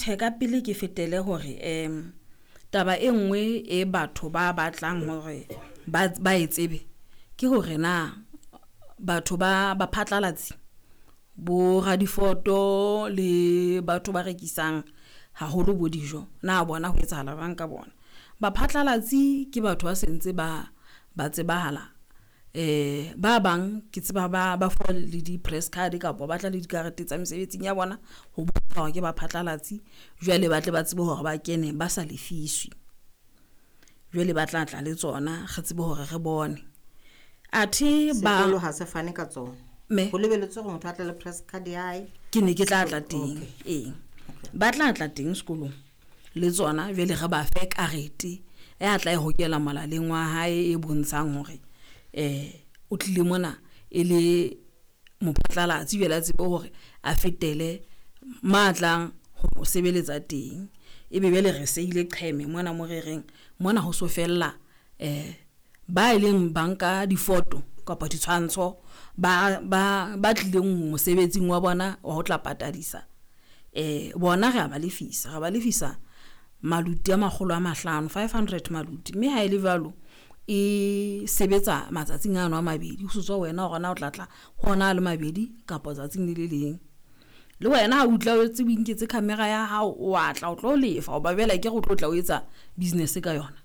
Tjhe, ka pele ke fetele hore taba e nngwe e batho ba batlang hore ba e tsebe ke hore na batho ba baphatlalatsi bo radifoto le batho ba rekisang haholo bo dijo na bona ho etsahala jwang ka bona. Baphatlalatsi ke batho ba se ntse ba tsebahala, ba bang ke tseba ba fuwa le di-press card kapa ba tla le dikarete tsa mesebetsing ya bona ho bontsha hore ke baphatlalatsi jwale ba tle ba tsebe hore ba kene ba sa lefiswe, jwale ba tla tla le tsona, re tsebe hore re bone athe ba Sekolo ha se fane ka tsona. Me. Ho lebelletswe hore motho a tle le press card ya hae. Ke ne ke tla tla teng. Ee, ba tla tla teng sekolong le tsona jwale re ba fe karete ya tla e hokela molaleng wa hae e bontshang hore o tlile mona e le mophatlalatsi jwale a tsebe hore a fetele ma tlang ho sebeletsa teng, ebe jwale re seile qheme mona mo re reng mona ho so fella ba e leng banka difoto kapa ditshwantsho ba tlileng mosebetsing wa bona wa ho tla patadisa bona re ya ba lefisa, re ba lefisa maluti a 500, 500 maluti, mme ha ele jwalo, e sebetsa matsatsing ano a mabedi ho so tswa ho wena hore na o tla tla ho ona a le mabedi kapa tsatsing le le leng. Le wena ha o tla o etse o inketse camera ya hao, wa tla o tlo lefa hoba jwale akere o tlo tla o etsa business ka yona.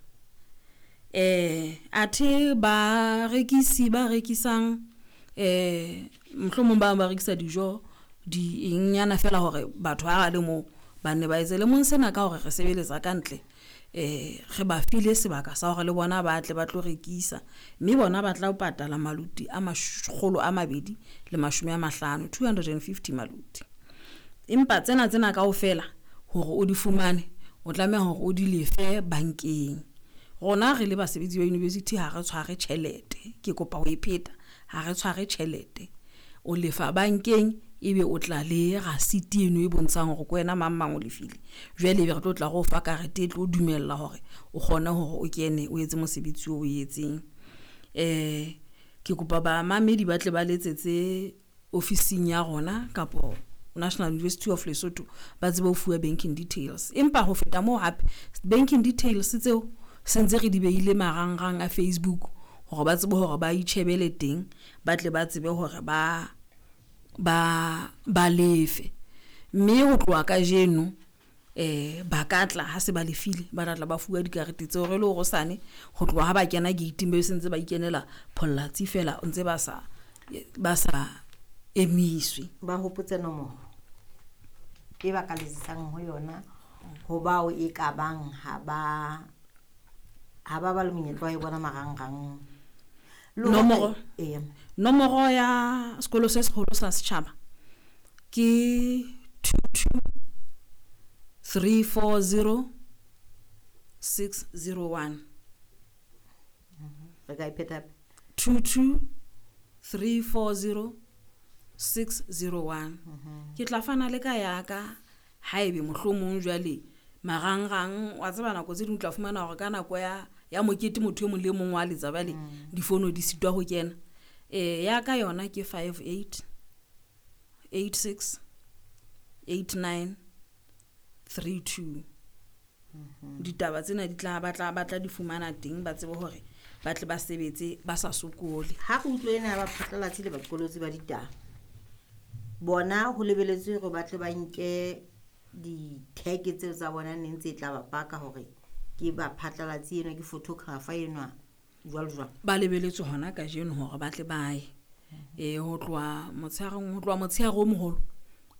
Athe barekisi ba rekisang mohlomong ba bang ba rekisa dijo di eng nyana feela hore batho ha ba le moo ba nne ba etse lemong sena ka hore re sebeletsa kantle, re ba file sebaka sa hore le bona ba tle ba tlo rekisa, mme bona ba tla patala maluti a 250, 250 maluti. Empa tsena kaofela hore o di fumane, o tlameha hore o di lefe bankeng. Rona re le basebetsi ba university ha re tshware tjhelete, ke kopa ho e pheta ha re tshware tjhelete, o lefa bankeng ebe o tla le rasiti eno e bontshang hore ke wena mang mang o lefile. Jwale ebe re tlo tla re o fa karete e tlo dumella hore o kgone hore o kene o etse mosebetsi oo o etseng. Ke kopa bamamedi ba tle ba letsetse ofising ya rona kapo National University of Lesotho, ba tsebe ho fuwa banking details, empa ho feta moo hape banking details tseo sentse re di behile marangrang a Facebook hore ba tsebe hore ba itjhebele teng, ba tle ba tsebe hore ba lefe, mme ho tloha kajeno ba ka tla ha se ba lefile, ba tlatla ba fuwa dikarete tseo re le hore hosane ho tloha ha ba kena gate-ing be se ntse ba ikenela phollatsi feela ntse ba sa emiswe. Ba hopotse nomoro e ba ka letsetsang ho yona ho bao e ka bang ha ba le monyetla wa e bona marangrang. Le hore- Nomoro. Eya. Nomoro ya sekolo se seholo sa setjhaba ke 22 340 601. Re ka e pheta hape? 22 340 601. Ke tla fana le ka ya ka haebe mohlomong jwale marangrang wa tseba nako tse ding o tla fumana hore ka nako ya mokete motho e mong le mong wa letsa jwale difono di sitwa ho kena. Ya ka yona ke 58 86 89 32. Ditaba tsena di tla ba tla di fumana teng, ba tsebe hore ba tle ba sebetse ba sa sokole. Ha re utlwe ena ya baphatlalatsi le baqolotsi ba ditaba, bona ho lebeletswe hore ba tle ba nke di-tag tseo tsa bona neng tse tla ba paka hore ke baphatlalatsi enwa, ke photographer enwa, jwalo jwalo. Ba lebeletswe hona kajeno hore ba tle ba ye. Ho tloha motsheareng, ho tloha motshehare o moholo,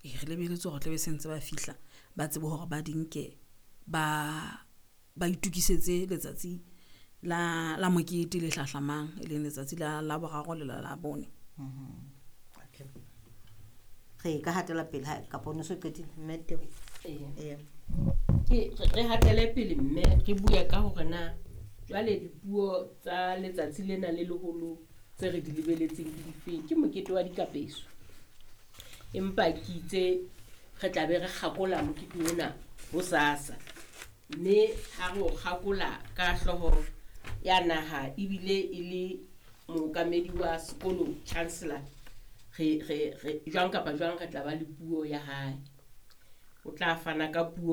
re lebeletse hore tla be se ntse ba fihla, ba tsebe hore ba di nke, ba itukisetse letsatsi la mokete le hlahlamang, e leng letsatsi la Laboraro le la Labone. Okay. Re ka hatela pele ha kapa o no so qetile, mme Teboho? Ee. Ee. Ke re hatele pele mme re bue ka hore na jwale dipuo tsa letsatsi lena le leholo tse re di lebeletseng ke difeng. Ke mokete wa dikapeso, empa ke itse re tla be re kgakola mokete ona hosasa, mme ha re o kgakola ka hlooho ya naha ebile e le mookamedi wa sekolo, chancellor, re jwang kapa jwang re tla ba le puo ya hae. O tla fana ka puo.